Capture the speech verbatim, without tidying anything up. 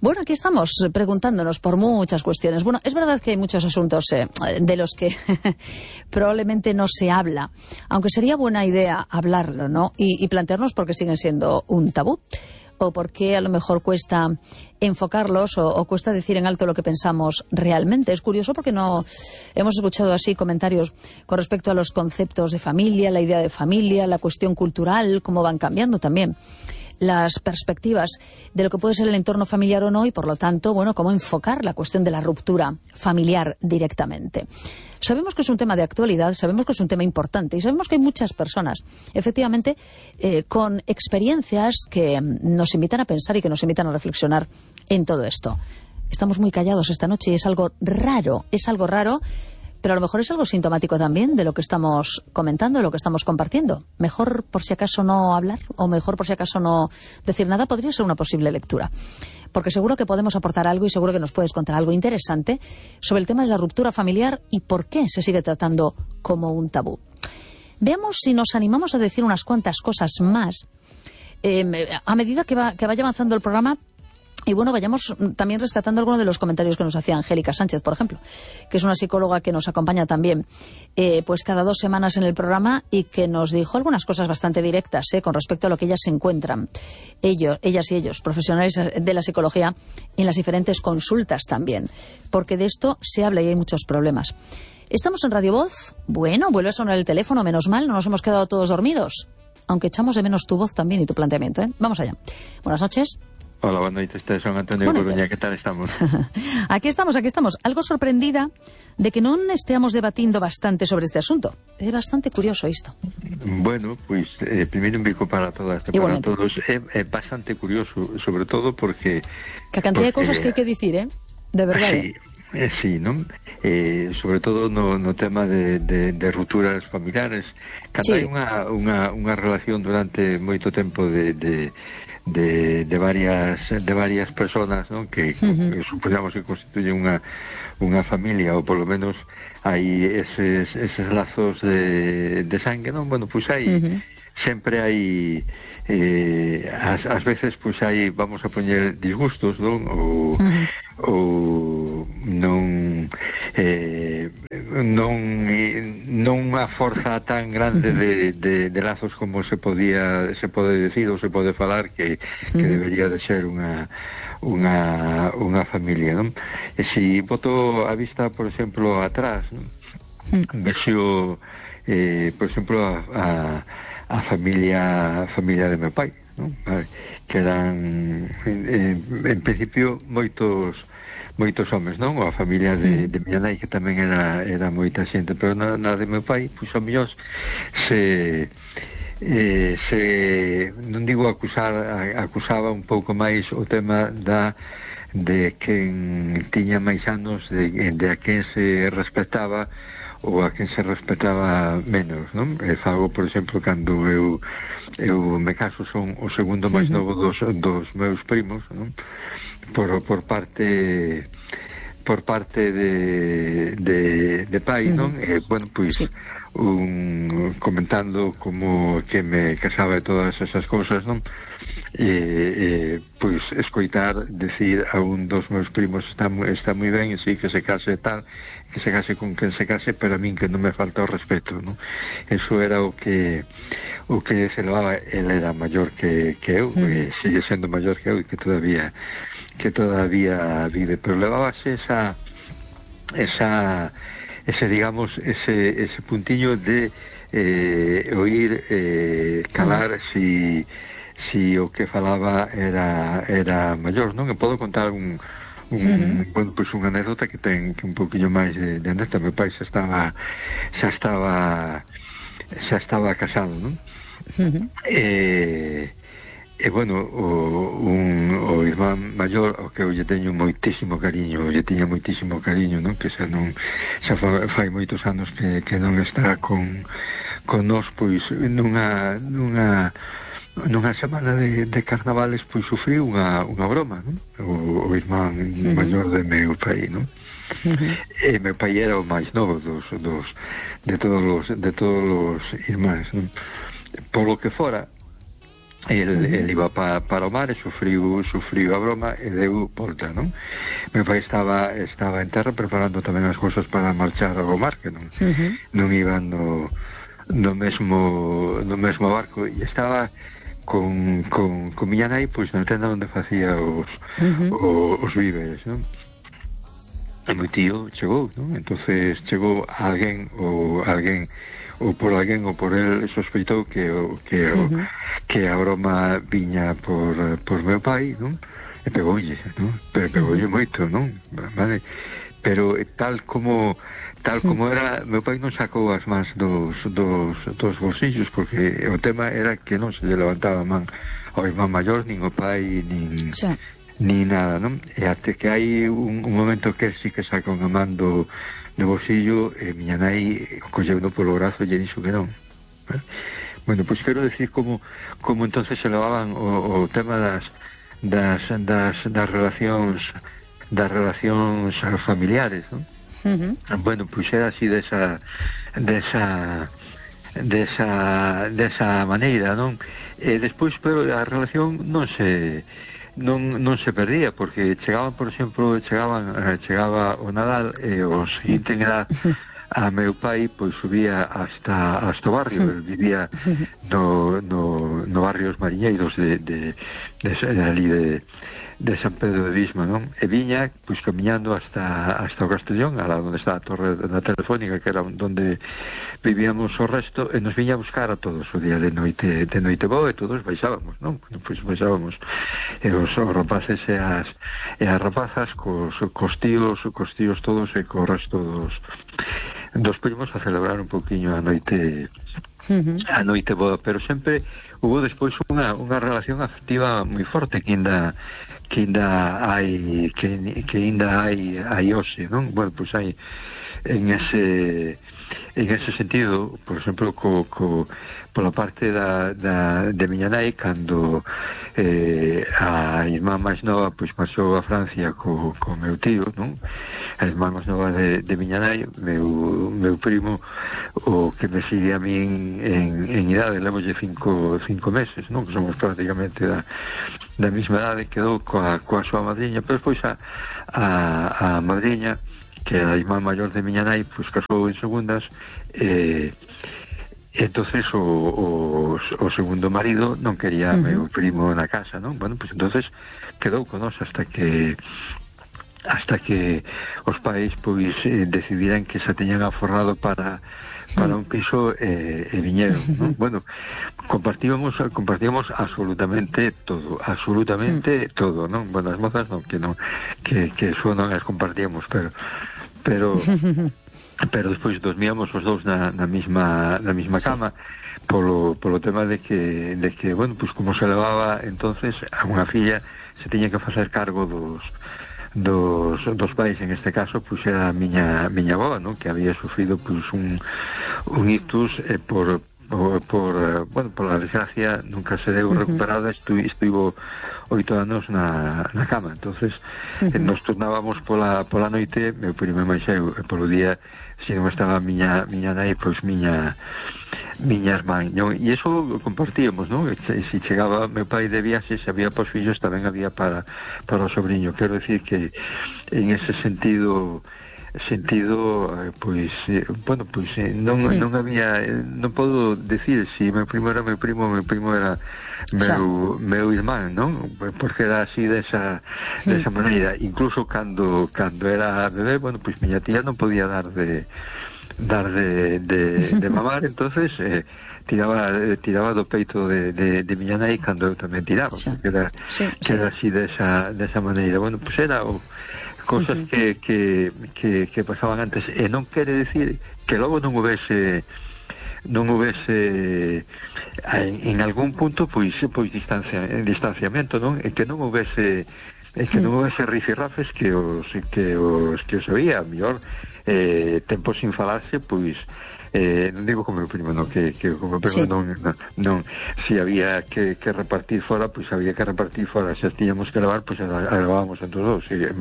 Bueno, aquí estamos preguntándonos por muchas cuestiones. Bueno, es verdad que hay muchos asuntos eh, de los que probablemente no se habla, aunque sería buena idea hablarlo, ¿no? Y, y plantearnos por qué siguen siendo un tabú, o por qué a lo mejor cuesta enfocarlos o, o cuesta decir en alto lo que pensamos realmente. Es curioso porque no hemos escuchado así comentarios con respecto a los conceptos de familia, la idea de familia, la cuestión cultural, cómo van cambiando también las perspectivas de lo que puede ser el entorno familiar o no, y por lo tanto, bueno, cómo enfocar la cuestión de la ruptura familiar directamente. Sabemos que es un tema de actualidad, sabemos que es un tema importante y sabemos que hay muchas personas, efectivamente, eh, con experiencias que nos invitan a pensar y que nos invitan a reflexionar en todo esto. Estamos muy callados esta noche y es algo raro, es algo raro, pero a lo mejor es algo sintomático también de lo que estamos comentando, de lo que estamos compartiendo. Mejor por si acaso no hablar, o mejor por si acaso no decir nada, podría ser una posible lectura. Porque seguro que podemos aportar algo y seguro que nos puedes contar algo interesante sobre el tema de la ruptura familiar y por qué se sigue tratando como un tabú. Veamos si nos animamos a decir unas cuantas cosas más eh, a medida que, va, que vaya avanzando el programa. Y bueno, vayamos también rescatando algunos de los comentarios que nos hacía Angélica Sánchez, por ejemplo, que es una psicóloga que nos acompaña también eh, pues cada dos semanas en el programa y que nos dijo algunas cosas bastante directas eh, con respecto a lo que ellas se encuentran, ellos, ellas y ellos, profesionales de la psicología, en las diferentes consultas también, porque de esto se habla y hay muchos problemas. Estamos en Radio Voz. Bueno, vuelve a sonar el teléfono, menos mal, no nos hemos quedado todos dormidos, aunque echamos de menos tu voz también y tu planteamiento. ¿eh? Vamos allá. Buenas noches. Hola, buenas noches, este son Antonio Coruña, ¿qué tal estamos? Aquí estamos, aquí estamos. Algo sorprendida de que non esteamos debatindo bastante sobre este asunto. É bastante curioso isto. Bueno, pois, pues, eh, primeiro un bico para todas, para todos. É, é bastante curioso, sobre todo porque... Que a cantidad porque, de cousas que hai que dicir, eh? De verdade. Sí, eh, sí, non? Eh, sobre todo no, no tema de, de, de rupturas familiares. Cando sí. hai unha, unha, unha relación durante moito tempo de... de De, de varias de varias personas, ¿no? que, uh-huh. que suponemos que constituyen unha unha familia, ou polo menos hai eses, eses lazos de, de sangue, non? Bueno, pois hai uh-huh. sempre hai eh, as, as veces pois hai, vamos a poñer disgustos, non? Ou, uh-huh. ou non eh, non non unha forza tan grande de, de, de lazos como se podía se pode decir ou se pode falar que, que debería de ser unha unha unha familia, non? E se boto a vista, por exemplo, atrás, non? Vexo eh, por exemplo a, a, a familia a familia de meu pai, non? Que eran en, en principio moitos moitos homes, non? Ou a familia de, de miña nai, que tamén era, era moita xente, pero na, na de meu pai, pois ao mellor se eh, se non digo acusar, acusaba un pouco máis o tema da de quen tiña máis anos, de, de a quen se respetaba ou a quen se respetaba menos, non? E fago, por exemplo, cando eu eu me caso, son o segundo máis novo dos, dos meus primos, non? Por, por parte por parte de, de, de pai, non? E, bueno, pois un, comentando como que me casaba de todas esas cousas, non? E, e pois escoitar decir a un dos meus primos está, está moi ben, e sí, que se case tal, que se case con quen se case, pero a min que non me falta o respeto, non? Eso era o que o que se levaba. Ele era maior que, que eu, mm. e sigue sendo maior que eu, e que todavía que todavía vive, pero levábase esa esa ese, digamos, ese, ese puntiño de eh, oír eh, calar mm. si si o que falaba era era maior, non? E podo contar un un, uh-huh. bueno, pois unha anécdota que ten que un poquinho máis de, de anécdota. Meu pai xa estaba xa estaba xa estaba casado, non? Uh-huh. E E, bueno, o, un, o irmán maior, ao que eu lle teño moitísimo cariño, lle tiña moitísimo cariño, non? Que xa non, xa fa, fai moitos anos que, que non está con, con nós, pois, nunha, nunha, nunha semana de, de carnavales, pois, sufriu unha, unha broma, non? O, o irmán uh-huh. maior de meu pai, non? Uh-huh. E meu pai era o máis novo dos, dos, de todos os, de todos os irmáns, non? Por lo que fora, el, uh-huh. el iba pa, para o mar e sufriu, sufriu a broma e deu volta, non? Meu pai estaba estaba en terra preparando tamén as cousas para marchar ao mar, que non, uh-huh. non iban no, no mesmo no mesmo barco, e estaba con, con, con miña nai pois na tenda onde facía os, uh-huh. os, os víveres, non? E meu tío chegou, non? Entonces chegou alguén ou alguén ou por alguén ou por el sospeitou que o, que o, uh-huh. que a broma viña por, por meu pai, non? E pegoulle, non? Pero pegoulle uh-huh. moito, non? Vale? Pero tal como tal como era, meu pai non sacou as mans dos, dos, dos bolsillos, porque o tema era que non se lle levantaba a man ao irmán maior, nin o pai, nin, sí. nin nada, non? E até que hai un, un momento que sí que saca unha man do, do bolsillo, e miña nai colleuno polo brazo e lle dixo que non. ¿Eh? Bueno, pois pues quero decir como, como entonces se levaban o, o tema das, das, das, das relacións das relacións familiares, non? Uh-huh. Bueno, pois era así desa desa desa desa maneira, non? E despois, pero a relación non se non non se perdía, porque chegaban, por exemplo, chegaban chegaba o Nadal e o seguinte era a meu pai, pois subía hasta hasta o barrio, el vivía no, no, no barrio Os Mariñeiros de, de, de, de ali de de San Pedro de Visma, non? E viña, pois, camiñando hasta hasta o Castellón, a lá onde está a torre da Telefónica, que era onde vivíamos o resto, e nos viña a buscar a todos o día de noite de noite boa, e todos baixábamos, non? Pois baixábamos, e os, os rapaces e as e as rapazas cos, cos tíos, cos tíos todos e co resto dos dos primos a celebrar un poquinho a noite uh-huh. a noite boa, pero sempre hubo despois unha, unha relación afectiva moi forte que ainda que ainda hai que, que ainda hai hai hoxe, non? Bueno, pois hai en ese en ese sentido, por exemplo, co, co pola parte da, da de miña nai, cando eh, a irmá máis nova pois marchou a Francia co, co meu tío, non? A irmá máis nova de, de miña nai, meu, meu primo, o que me sigue a min en, en idade, levolle cinco, cinco meses, non? Que somos prácticamente da, da mesma idade, quedou coa, coa súa madriña, pero pois a, a, a madriña, que a irmá maior de miña nai, pois casou en segundas, e entonces o, o, o segundo marido non quería uh-huh. meu primo na casa, non? Bueno, pois entonces quedou con nós hasta que hasta que os pais pois eh, decidiran que se teñan aforrado para para un piso e, e viñeron, non? Bueno, compartíamos compartíamos absolutamente todo, absolutamente todo, non? Bueno, as mozas non, que non que, que eso non as compartíamos, pero pero pero despois dormíamos os dous na, na mesma na mesma cama, polo polo tema de que de que, bueno, pues como se levaba entonces a unha filla se tiña que facer cargo dos dos, dos pais, en este caso pois era a miña miña avó, non? Que había sufrido pois un un ictus eh, por por, por bueno, por la desgracia nunca se deu recuperada. Estu, estivo oito anos na, na cama, entonces uh-huh. eh, nos turnábamos pola, pola noite, meu primo e máis eu, e polo día se non estaba miña, miña nai, pois miña miña irmán, non? E iso compartíamos, non? E se chegaba meu pai de viaxe, se había pos fillos, tamén había para, para o sobrinho. Quero decir que en ese sentido sentido, pois, eh, bueno, pois eh, non, sí. non había, eh, non podo decir se si meu primo era meu primo, meu primo era meu, meu irmán, non? Porque era así desa, sí. desa maneira. Incluso cando, cando era bebé, bueno, pois miña tía non podía dar de dar de, de, de mamar, entonces eh, tiraba eh, tiraba do peito de, de, de miña nai cando eu tamén tiraba, sí. que era, sí, que sí. era así desa, desa maneira. Bueno, pois era o cosas uh-huh. que, que, que, que pasaban antes, e non quere decir que logo non houvese non houvese en, en algún punto pois pois distancia, distanciamento, non? E que non houvese e que non houvese rifirrafes que os que os que os oía, a mellor eh, tempo sin falarse, pois eh, non digo como o primo, no, que, que como o primo sí. non, non, non, si había que, que repartir fora, pois había que repartir fora, se tiñamos que levar, pois levábamos entre os dous, e